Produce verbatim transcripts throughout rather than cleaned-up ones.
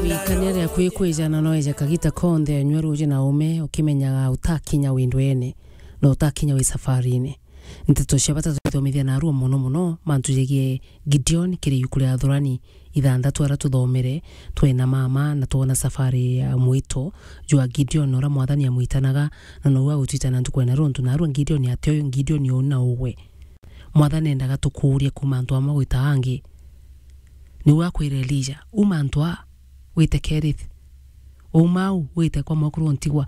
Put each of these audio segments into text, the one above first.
Wikania ria kwikwijana no eje kagita konthe, nyua ruuji na ume, ukimenyaga utakinya wi ndwene, na utakinya wi safarine. Nteto cia bata tuthomithia narua mono mono, mantu jegie Gideon kiri iuku ria Athurani ithanthatu aria tuthomere, twena mama na twona safari ya mwito jwa Gideon, uria Mwathani amwitanaga, na nou agutwitana ntuku ena runtu. Narua Gideon ati uyu Gideon uu na ugwe. Mwathani endaga tukuurie kuuma antu amwe gwita angi. Niu akwire Elija, "Uma antu aa, wite Kerith. Uma au, wite kwa mwekuru Ntigwa.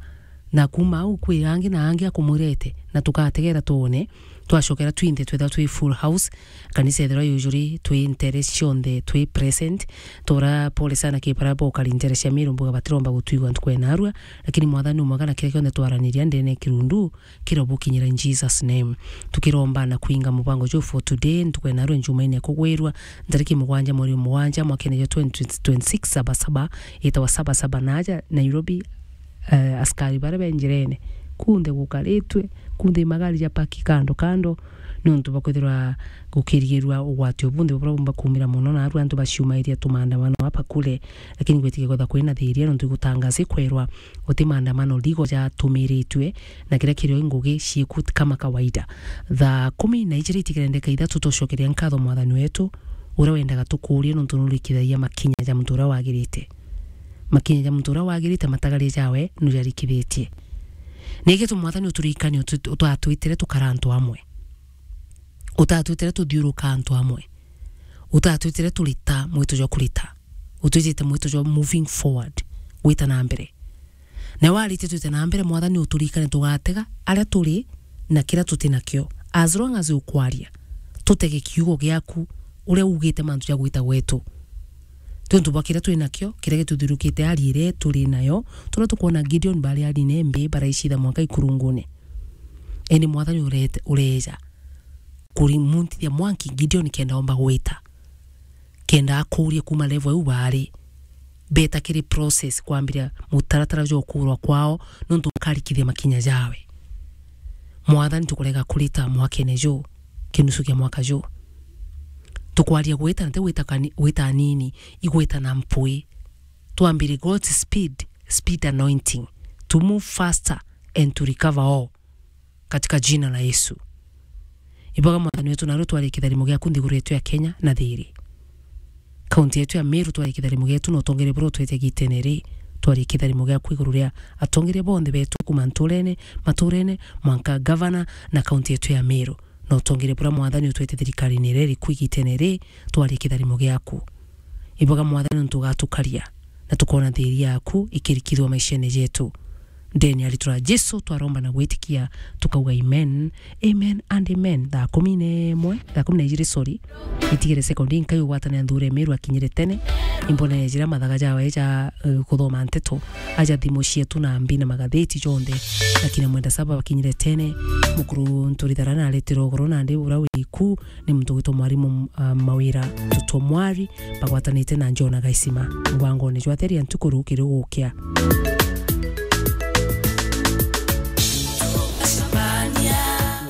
Na kuuma au, kwi angi na angi akumwirete, na tugategera twone." Twacokera twinthe twethira twi full house, kanisa ethirwa yujuri, twi ntere cionthe, twi present. Tora pole sana ki bara bokari ntere cia Miru, mbuga batiromba gutwigua ntuku ena arua, lakini Mwathani umwega na kiria kionthe twaraniria ndene kirundu, kira bukinyira in Jesus name. Tukiromba na kuinga mubango juu for today, ntuku ena rwe Jumaine kugwirwa, ntariki mugwanja mweri mugwanja mwakene jwa twenty twenty-six, saba saba, itawa saba saba naja Nairobi, eh, askari baria be njirene, kunthe gukaritwe, kunthe magari ja paki kando kando, nontu bakwithirwa gukirigirwa ugwati ubunthe buria bumba kumira mono, na aru antu baciumairia tumandamano apa kule, lakini gwitikia kwetha kwina thiria nontu igutangaza ikwerwa guti maandamano legal jatumiritue, na kiria kirio i ngugi ciiku kama kawaida. Thaa kumi na ijiri itigere ndeka ithatu, tucokeria nkatho Mwathani wetu, uria wendaga tukuurie nontu nurikithagia makinya ja muntu uria wagirite. Makinya ja muntu uria wagirite, matagaria jawe nujarikithitie. Niki tu Mwathani uturirikanie utu-, utatwitire tukara antu amwe. Utatwitire tuthiuruka antu amwe. Utatwitire turita mwito jwa kurita. Utwitite mwito jwa moving forward, gwita na mbere. Na warite twite na mbere, Mwathani uturirikane tugatega aria turi na kiria tuti nakio. As long as ukwaria, tutege kiugo giaku, uria ugite mantu ja gwita gwetu. Tontu bwa kiria twi nakio, kiria gituthirukite, ari iria turi nayo, turia tukwona Gideon bari ari nembe, baraicitha mwanka ikurungune. Indi Mwathani urete-, ureeja kurimuntithia mwanki Gideon kenda omba gwita. Kenda akuurie kuuma level iu baari. Beta kiri process kwambiria mutaratara jwa ukuurwa kwao, nontu nkarikithia makinya jawe. Mwathani, tukurega kurita mwakene juu, kinusu kia mwaka juu. Tukwaria gwita, nti gwita kani-, gwita anini, igwita na mpwi. Twambire God's speed, speed anointing, to move faster and to recover all. Katika jina la Yesu. Iboga Mwathani wetu, narua twarie kitharimo giaku nthiguru yetu ya Kenya na thiri. Kaunti yetu ya Meru twarie kitharimo gietu na utongeria buria utwete gitene ri, twarie kitharimo giaku iguru ria atongeria bonthe betu kuma nturene, maturene, mwanka gavana na kaunti yetu ya Meru. Na utongeria buria Mwathani utwete thirikarine iria iriku igitene ri, twarie kitharimo giaku. Iboga Mwathani nontu ugatukaria, na tukoona thiri yaku ikirikithua maishene jetu. Ndeni ya ritwa ria Jesu twaromba na gwitikia, tukauga amen, amen and amen. Thaa kumi na imwe, thaa kumi na ijiri, sorry, itigire sekondi inkai ugwatane na nthure Meru akinyire tene. Imbonere jira mathaga jawe ja, eh, kuthoma nteto, aja thimu cietu na mbi na magatheti jonthe, na kina mwenda saba bakinyire tene. Mukuru Nturithara na aretire ugoro nandi uria wiku, ni muntu witwa Mwarimu, ah, Mawira Tutomwari, bagwatanite na Jona Gaisima mubangone jwa Theria Ntuku Rukiri Gukia.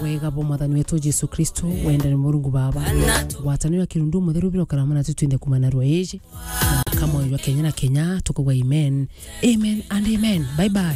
Wega bwa Mwathani wetu Jesu Kristo, wendani Murungu Baba, ngwataniro ya Kirundu Mutheru biro karama na tutwinde kumana rwa iji, na kamwe jwa Kenya na Kenya, tukauga amen, amen and amen. Bye bye.